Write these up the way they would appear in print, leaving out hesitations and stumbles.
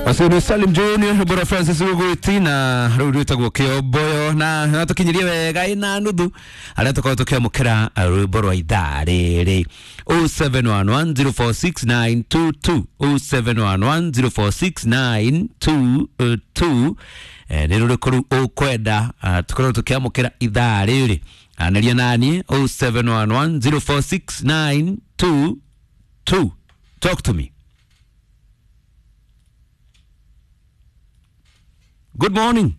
Acio nĩ Salim Junior Bora Francis Rugwiti na rĩu rwĩtagwo Kĩomboyo na natũkinyirie wega ĩna nuthu arĩa tũkorwo tũkĩamũkĩra rwĩmbo rwa ithaa rĩrĩ 0711046922 0711046922. Nĩ rũrĩkũ rĩu ũkwenda tũkorwo tũkĩamũkĩra ithaa rĩrĩ? Anĩria naniĩ 0711046922. Talk to me. Good morning.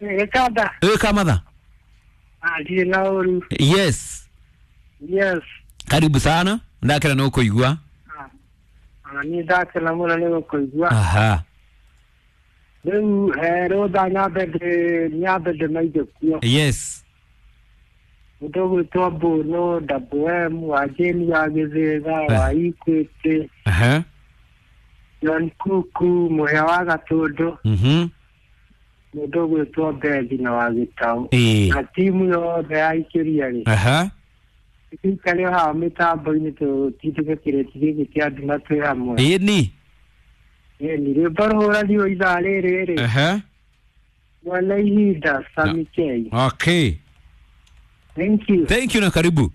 Gĩkanda. Ĩ Kamatha. Ndirĩ na ũru. Yes. Yes. Karibu sana. Ndakena nĩ gũkũigua. Ona niĩ ndakena mũno nĩ gũkũigua. Aha. Rĩu rũtha nyambe ndĩmaige kuo. Yes. Mũndũ ũgwĩtwo Mbũnũ, WM, wa Jane wa Gĩthĩga, wa Equity, Aha. John Kuku, Mũhĩa wa Gatũndũ, mũndũ ũgwĩtwo Bethi na wa Gĩtaũ. Ĩĩ. Na timu yothe ya Ikĩria rĩ. Aha. Tũikare o haha mĩtambo-inĩ tũtindĩke kĩrĩti gĩkĩ kĩa nduma twĩ hamwe. Ĩni. Ĩni, rwĩmbo rũhũranirwo ithaa rĩrĩ rĩ. Aha. Mwana ihinda Sami K. Okay. Thank you. Thank you na karibu.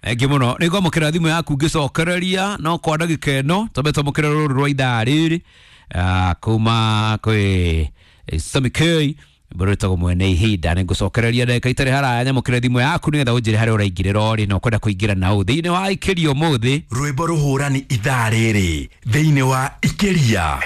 Thank you mũno. Nĩ ngwamũkĩra thimũ yaku ngĩcokereria no kwa ndagĩka ĩno twambe twamũkĩre rũrũ rwa ithaa rĩrĩ kuma kwĩ Sami K rwĩtagwo mwene ihinda. Nĩ ngũcokereria ndagĩka itarĩ haraya nyamũkĩre thimũ yaku nĩgetha ũnjĩre harĩa ũraingĩrĩra ũrĩ na ũkwenda kũingĩra na ũ thĩinĩ wa ikĩria ũmũthĩ. Rwĩmbo rũhũrani ithaa rĩrĩ thĩinĩ wa Ikĩria.